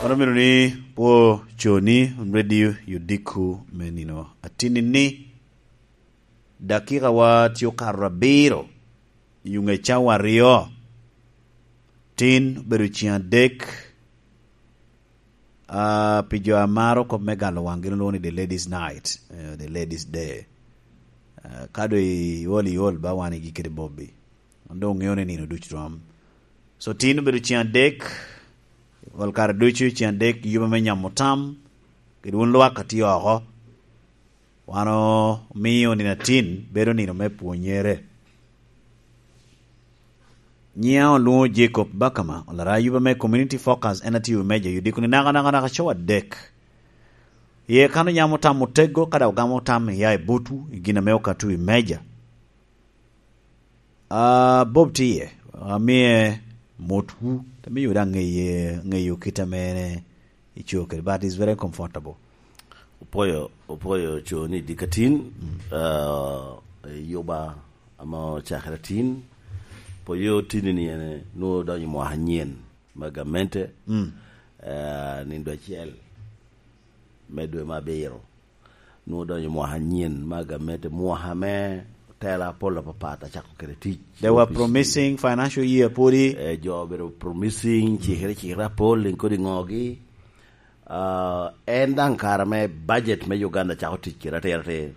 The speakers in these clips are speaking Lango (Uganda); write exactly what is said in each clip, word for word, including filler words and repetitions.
An omito ni pwo coni radio yodiko me nino atinni ni dakikawa tye okato abiro i ŋe cawa aryo. Tin obedo ciŋ adek. Ah, pi jo a maro kop me galo waŋ, gin olwoŋo ni The Ladies Night, eh, The Ladies Day. Ah, ka doŋ iol, iol ba wan igi kede Bobby. Wan doŋ oŋeo ni nino ducu rom. So, tin obedo ciŋ adek, ol kare ducu ciŋ adek, yuba me nyamo tam, kede wun lwak a tye oko. Wan omio nino atin bedo nino me pwonyere. Nyiŋa olwoŋo Jacob Bakama, olara yuba me Community Focus, en atio i meja, yudiko ni naka, naka, naka, cowa adek. Ye kan onyamo tam otego, ka dok ogamo tam, iya i butwu, i gin ame okato i meja. Ah, Bob tye iye, amie motwu, te miyo daŋ ŋeye, ŋeyo kit ame en ico kede, but is very comfortable. Opwoyo, opwoyo coni dikatin, ah, i yuba ame ocakere tin. Poyo tini ni en nwoŋo odonyo i mwaka anyen me gamente, eh, nindo acel me dwe me abiro. Nwoŋo odonyo i mwaka anyen me gamente, mwaka me tela apol apapat acako kede tic. They were promising financial year pwodi. Eh, jo obedo promising, cikere, cikere apol, en kodi ŋogi. Ah, en daŋ kare me budget me Uganda cako tic kede atir atir.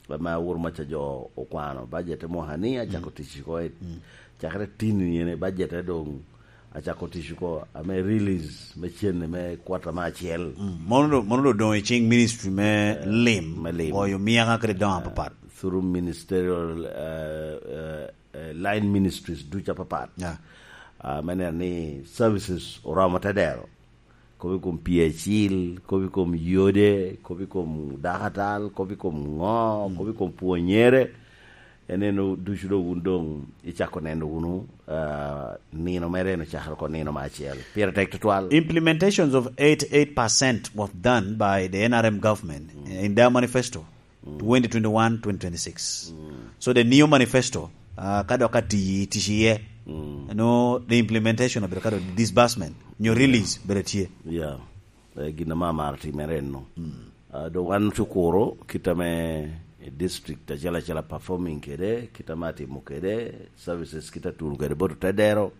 Ame awuro maca jo okwano budget me mwaka ni, acako tic oko i, cakere tin ni ene budget e doŋ acako tic oko, ame release me cene me kwata me acel. Mm, mono do-, mono do doŋ i ciŋ ministry me lim, me lim. Goyo miaka kede doŋ apapat. Through ministerial, eh, eh, eh, line ministries ducu apapat. Yeah. Ah, me neno ni services oromo te dero. Kop i kom P H il, kop i kom yode, kop i kom dakatal, kop i kom ŋo, kop i kom pwonyere. En eno ducu do wun doŋ icako neno wunu, ah, nino mere en ocakere oko nino me acel. Pire tek tutwal. Implementations of eighty-eight percent was done by the N R M government in their manifesto. Twenty twenty-one, twenty twenty-six. So the new manifesto, ah, ka dok ati-, tic iye, no, the implementation of the, ka dok disbursement, nyo release, bedo tye. Yeah. Eh, gin ame amaro timere enno. Ah, do wan cukuro kit ame district acel acel a performing kede, kit ame atimo kede, services kit atun kede bot otedero.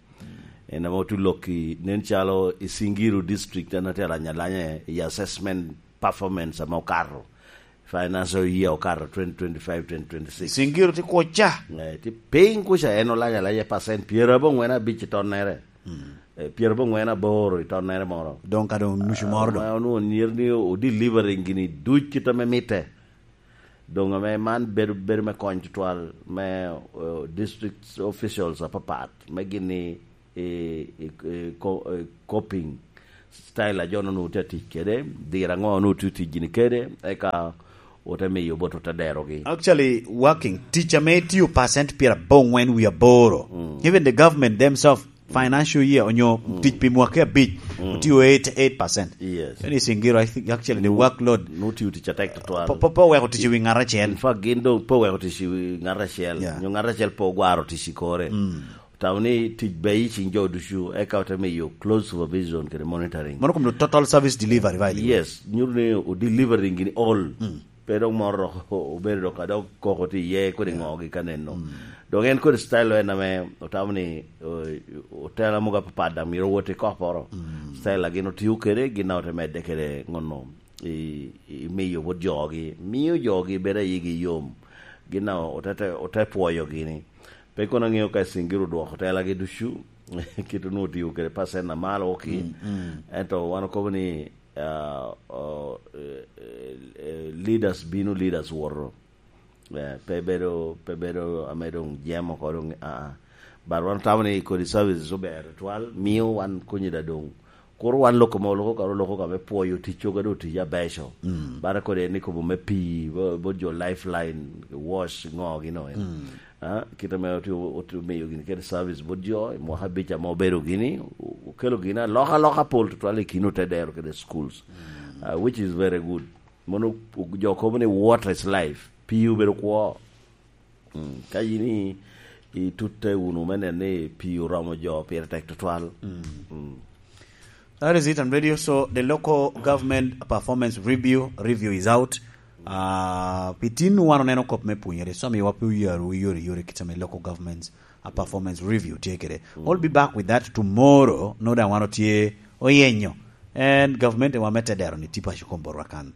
En ame otu lokki, nen calo i Singiro district, en atye alanya alanya i assessment performance ame okato. Financial year okato twenty twenty-five, twenty twenty-six. Singiro tye kuca. Eh, tye piny kuca, en olanya alanya percent pyerabongwen abic i tonnere. Eh, pyerabongwen aboro i tonnere moro. Doŋ ka doŋ nucu moro doŋ. Ah, onwoŋo nyero ni o delivering gini duc kit ame mitte. Doŋ ame man bedo, bedo me kony tutwal me, eh, district officials apapat, me gini i, i, i ko-, i coping style a jo onwoŋo tye atic kede, diro aŋo onwoŋo tye tic gini kede, eka ote miyo bot ote derogi. Actually, working, tic ame itio percent pyerabongwen wie aboro. Even the government themselves, financial year, onyo tic pi mwaka abic, otio eighty-eight percent. Yes. Eni Singiro, I think, actually, the workload. Nwoŋo tio tic atek tutwal. Po, po, po weko tic i wi ŋat acel. In fact, gin doŋ po weko tic i wi ŋat acel. Yeah. Nyo ŋat acel po ogwaro tic i kore. Otamo ni tic beyo i ciŋ jo ducu, eka ote miyo close supervision kede monitoring. Mano kom total service delivery, right? Yes, nyuto ni o delivering gini all. Pe dok moro dok obedo dok ka dok koko tye iye kodi ŋogi ka neno. Dok en kodi style en ame otamo ni, o-, otela mogo apapat daŋ myero owot i koporo. Style a gin otio kede, gin daŋ ote medde kede ŋonno i, i miyo bot jogi. Miyo jogi bedo ayigi yom. Gin daŋ ote, te, ote pwoyo gini. Pe kono aŋeo ka Singiro odwoko telagi ducu, kit onwoŋo otio kede percent a malo oki. Ento wan okobo ni, ah, oh, eh, eh, eh, leaders bino, leaders woto. Eh, pe bedo, pe bedo ame doŋ jemo oko doŋ, ah, ah. But wan otamo ni kodi services ober tutwal, miyo wan konyi da doŋ. Kur wan loko ma oloko ka, oloko ka me pwoyo tic coga do tic abeco. Bara kodi en ikobo me pii, bo, bo jo Lifeline, wash, ŋo gino en. Ah, kit ame oti-, oti-, omiyo gini kede service bot jo, i mwaka abic ame obedo gini, o-, okelo gini alokaloka pol tutwal i kin otedero kede schools. Ah, which is very good. Mono jo kobo ni water is life. Pii obedo kwo. Mm, ka in i, itutte wunu me neno ni pii oromo jo pire tek tutwal. Mm. That is it on radio. So the local government performance review review is out. Uh, pi tin wan oneno kop me punyere, so miwa pe oyaro yore yore kit ame local governments a performance review tye kede. We'll be back with that tomorrow. No, da wan otye oyenyo, and government wa me tedero ni tipa chukom borwa kan.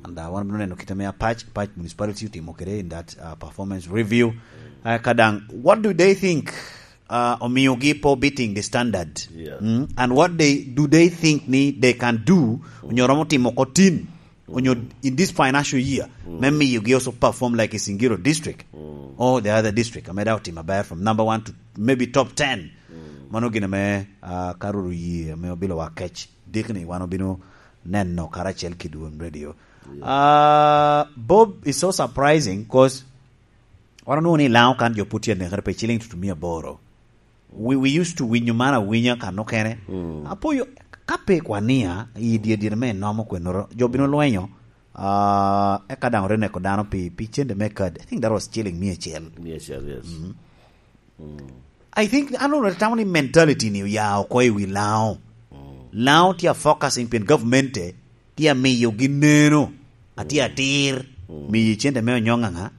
And uh, wan bino neno kit ame apac apac municipality otimo kede in that uh, performance review. Uh, kadang, what do they think uh, omiyogi po beating the standard? Yeah. Mm? And what they do they think ni they can do, onyo romo timo ko tin, onyo in this financial year, me miyogi also perform like a Singiro district or the other district, ame da otimo aber from number one to maybe top ten. Mano gin ame uh, karuru yie ame obilo wa kec dikni wan obino neno karacel ki Dwon Radio. Uh, Bob, is so surprising because wan onwoŋo ni Laŋo kan jo put tye anekere pe ciling tutumia aboro. We, we used to winyo man awinya kan okene. Apoyo ka pe kwania i dye dye me nomo kwenoro, jo bino lwenyo. Uh, eka daŋ ote neko dano pi, pi cente me kadi. I think that was shilling mia acel. Yes, yes, yes. I think, I don't know, tamo ni mentality ni oya oko i wi Laŋo. Laŋo tye a focusing pien government tye a miyogi neno, atye atir, miyi cente me onyoŋ aŋa.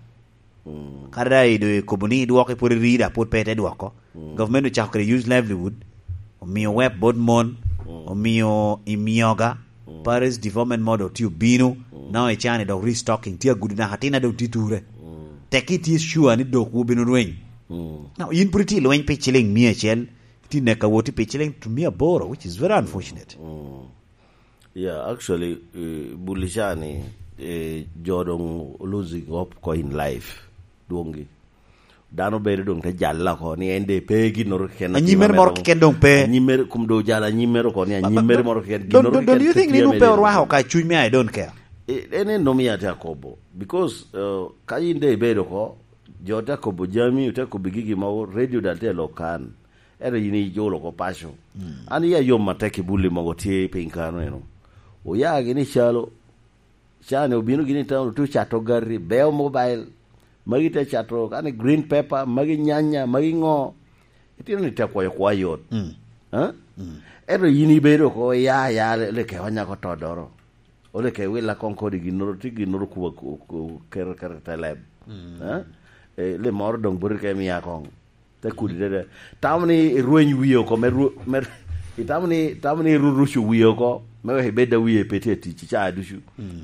Kadi da ido ikobo ni idwoko ipwod irida pwod pe ite dwoko. Government ocako kede use livelihood, omiyo wep bot mon, omiyo imioga, Paris development model tye obino, now icani dok restocking tye agudo naka atin adong tye ture. Tek itye sure ni dok wubino rweny. Now, in pwod itye lweny pi ciling mia acel, itye neka woti pi ciling mia aboro, which is very unfortunate. Yeah, actually, uh, buli cani, uh, jo dong losing hope ko in life. Dwongi. Dano bedo dong te jalla ko ni en de pe ginnoro keken. Anyimere moro keken dong pe. Anyimere kum do jala anyimere ko ni anyimere moro keken. Don't, don't, don't you think ni nu pe orwako ka cuny me I don't care? En en nom ya te akobo. Because uh, ka in de ibedo ko, jo te akobo jami, te akobo gigi ma radio dal te lokan. Ero yin ijolo ko paco. An iya yom matek i buli mogo tye piny kano eno. Oya gini calo, cani obino gini town otu cato gari, beo mobile, magi te cato kani green pepper, magi nyanya, magi ngo. Itino ni te kwayo kwa yot. Eh? Ero yin ibedo ko ya ya le ke wanya ko todoro. Ole ke wila kong kodi ginnoro ti ginnoro kuba kero kero teleb. Eh? Eh, le moro dong buri ke mia kong. Te kudi dede. Tamo ni irweny wiye oko me ru-, me, itamo ni, tamo ni irurucu wiye oko me wek ibed da wiye pe tye tic ca ducu.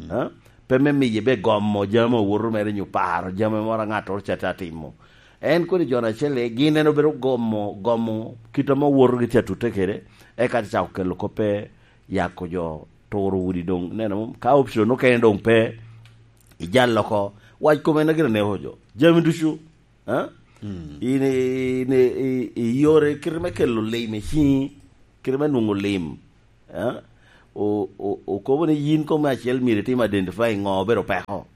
Ha? Pe me miye be gomo jami owoto mere nyo paro jami moro a ŋattoro ca te atimo. En kodi jo acel gin en obedo gomo, gomo kit ame owoto gi tye atute kede, eka te cako kelo koppe yako jo turo udi dong. Neno, ka option okene dong pe, ijal oko, wac kome na gire neko jo. Jami ducu, eh? In, in, i, i yore kite me kelo lim i ciŋi, kite me nwoŋo lim, eh? O, o, okobo ni yin kome acel myero itim identify ŋo obedo peko.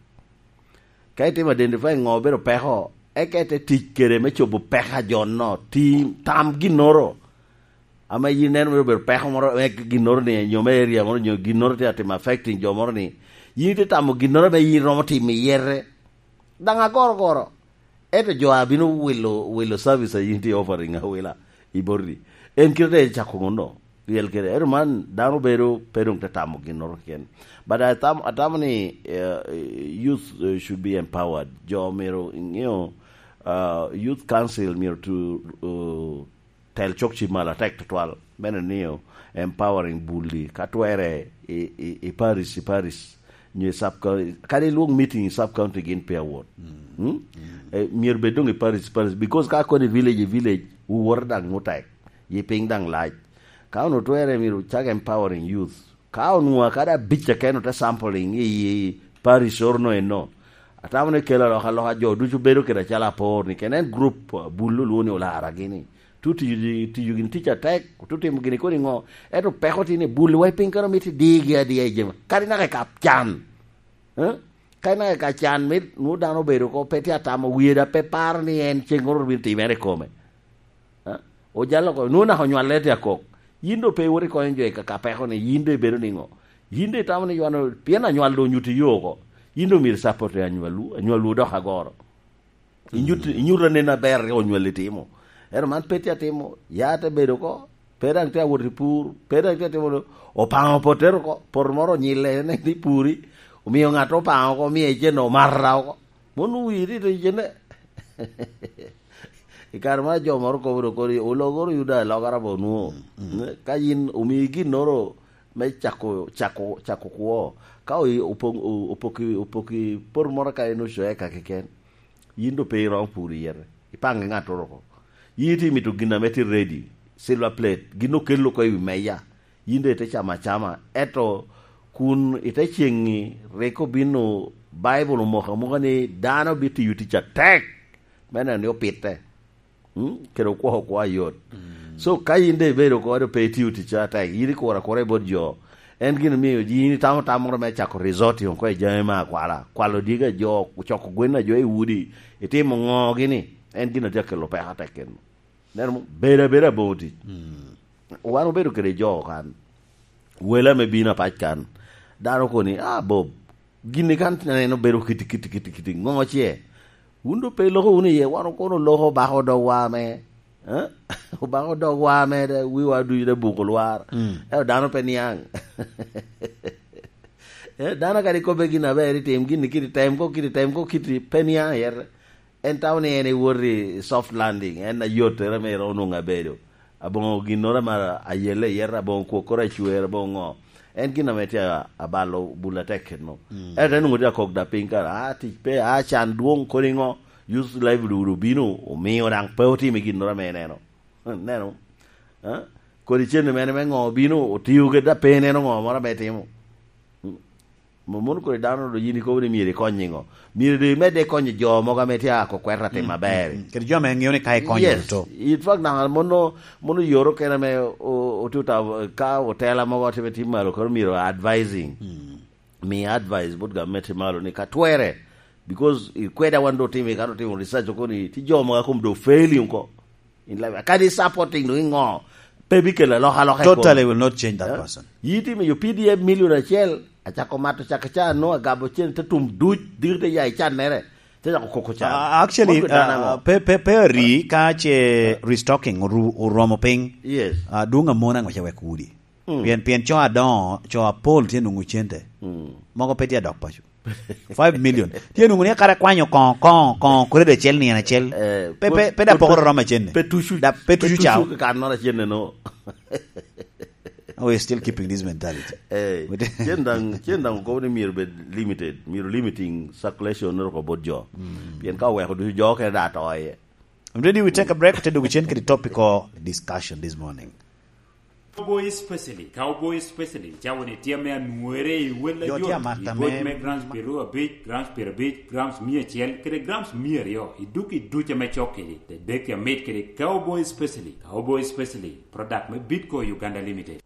Ka itimo identify ŋo obedo peko, eka ite tic kede me cobo peko a jo-no, ti tam ginnoro. Ame yin ineno mere obedo peko moro, me ginnoro ni, nyo me area moro, nyo ginnoro tye atimo affecting jo moro ni, yin ite tamo ginnoro me yin romo timo iyete. Daŋ agoro goro. Ento jo a bino wilo, wilo service a yin tye offering awila i boti. En kite te cako ŋuno, ryel kede. Ento man dano bedo pe dong te tamo ginnoro keken. But I tam-, atamo ni uh, youth uh, should be empowered. Jo myero, you know, uh, youth council myero to uh, tel cok ci malo atek tutwal. Meno ni empowering bulli ka twere i, i, i parish, i parish. Nyo i sub county, kadi ilwong meeting i sub county gin pe awot. Hmm? Eh, myero bed dong i parish, parish, because ka koni village i village, wuwote daŋ mutek, yi piny daŋ lac. Ka ono twere myero cak empowering youth. Ka onwoŋo kadi abic keken ote sampling i, i parish orono eno, atamo ni kelo alokaloka jo ducu bedo kede acalo apor ni kene en group uh, bullo lwongo ni olara gini. Tu tiyo, tiyo gini tic atek, tu timo gini kodi ŋo. Ento peko tye ni bulli wa i piny kano miti digi adiya i jema. Kadi naka i kap can. Eh? Kadi naka i kap can mit nwo dano obedo ko pe tye atamo wiye da pe paro ni en ceng oro bino timere i kome. Eh? Ojalo ko, nwo naka onywal lete akok. Yin do pe iwot ikonyo jo i kaka peko ni yin do ibedo ni ŋo. Yin do itamo ni ywano, pien anywal do onyuto iyo oko. Yin do myero support anywalwu, anywalwu dok agoro. Inyut, inyuto anen aber rik onywali timo. Ento man pe tye atimo, ya te bedo oko, Pe daŋ tye awot i pur, pe daŋ tye atimo ni, opaŋo potere oko, poto moro onyille, en ni puri, omio ŋat opaŋo oko, omio icenne omata oko. Mon owiri to icenne. I kare ma jo moro kobo dok kodi, ologoro yuda alogara bo nwo. Mm, mm. Ka yin omii ginnoro me cako, cako, cako kwo, ka oyi-, opong-, o-, opoki, opoki poto moro ka en ocoe ka keken, yin do pe iromo pur i yete, ipaŋe ŋattoro oko. Yin itye mito gin ame tye ready, silver plate, gin okello oko i wi meja, yin do ite camo acama. Ento kun ite ceŋŋi, rik obino, Baibul omoko amoka ni dano bitiyo tic atek me neno ni opitte. Mm, kede okwo okwo ayot. Mm. So, ka yin de ibedo kode pe itio ticci atek, yin ikuro akura i bot jo, en gin omio yin itamo tam moro me cako resort oko i jami me akwala, kwalo dyegi a jo, coko gwen a jo i udi, itimo ŋo gini, en gin a tye akelo peko atek keno. Neno mo, bedo abeda aboŋo tic. Mm. Wan obedo kede jo kan, wele ame bino apac kan, dano koni, "Ah, Bob, gini kan aneno bedo kiti, kiti, kiti, kiti, ŋo ce? Wun do pe iloko wunu iye, wan kono oloko obako dogwa ame, eh? Obako dogwa ame, da, wiwa ducu da buko lwar." Mm. Ento dano pe niaŋ. Eh, dano kadi kobbe gin aber itim, gin kiti tem ko, kiti tem ko, kiti pe niaŋ iye. En tamo ni en ewot i soft landing, en ayottere ame iromo nwoŋo abedo. Aboŋo ginnoro ame ayelle iye, aboŋo kwokkoro acwer, aboŋo ŋo. En gin ame tye a-, abalo bul atek keno. Mm. Ento en onwoŋo tye akok da piny kara, "Ah, tic pe, ah, can dwoŋ kodi ŋo, use live dudu obino, omio daŋ pe otimo ginnoro ame ineno." Neno? Ah? Kodi cen mere me ŋo obino, otio kede da pe ineno ŋo moro ame itimo. Mm. Mo-, mono kodi dano do yin ikobo ni myero ikony i ŋo? Myero do imedde ikonyo jo mogo ame tye a ko kwero atim Mm, aber. Mm, mm. Kede jo ame ŋeo ni ka ikonyo Yes. Oto. In fact, naka mono, mono yoro kene ame o-, otuta ka otela mogo otime tim malo, koro myero advising. Mm. Mi advice bot gamente malo ni ka twere, because i kweda wan do otimo, ka otimo research oko ni, ti jo mogo a kom do failing ko. In life, kadi supporting do i ŋo, pe bikelo alokaloka i kome. Totally will not change that Eh? Person. Yi itimo yo P D F million acel, acako mato cak ca, no agabo cen, te tum duc, diri te ya i cannere, te cako koko can. Uh, actually, Mot kwe dano uh, aŋo? Pe, pe, pe ori ka ce restocking oru-, oromo piny. Yes. Uh, dwong amona ŋo ce wek udi. Mm. Pien, pien co adoŋo, co apol tye nwoŋo cente. Mm. Mogo pe tye adok paco. Five million. Tye nwoŋo ni kara kwanyo koŋo, koŋo, koŋo, kurede acel nino acel. Eh, Pe, pe, pe da pe, pokoro pe, romo acenne. Pe tucu, Da, pe pe tucu tucu cao. Ka noro acenne no. Oh, we're still keeping this mentality. Eh, But cen daŋ, cen daŋ okobo ni myero bed limited, myero limiting circulation noro ko bot jo. Mm. Pien ka oweko ducu jo kene da to iye. I'm ready, we take a break, te dugu cen kede topical discussion this morning. Cowboy Specialist, Cowboy Specialist, cawa ni tye ame anwere i wel Jo tye ayot, amata i goc me me grams piero abic, grams piero abic, grams mia acel, kede grams mia aryo, i duk i duc ame cok kedi, te dek amit kede Cowboy Specialist, Cowboy Specialist, product me Bitco Uganda Limited.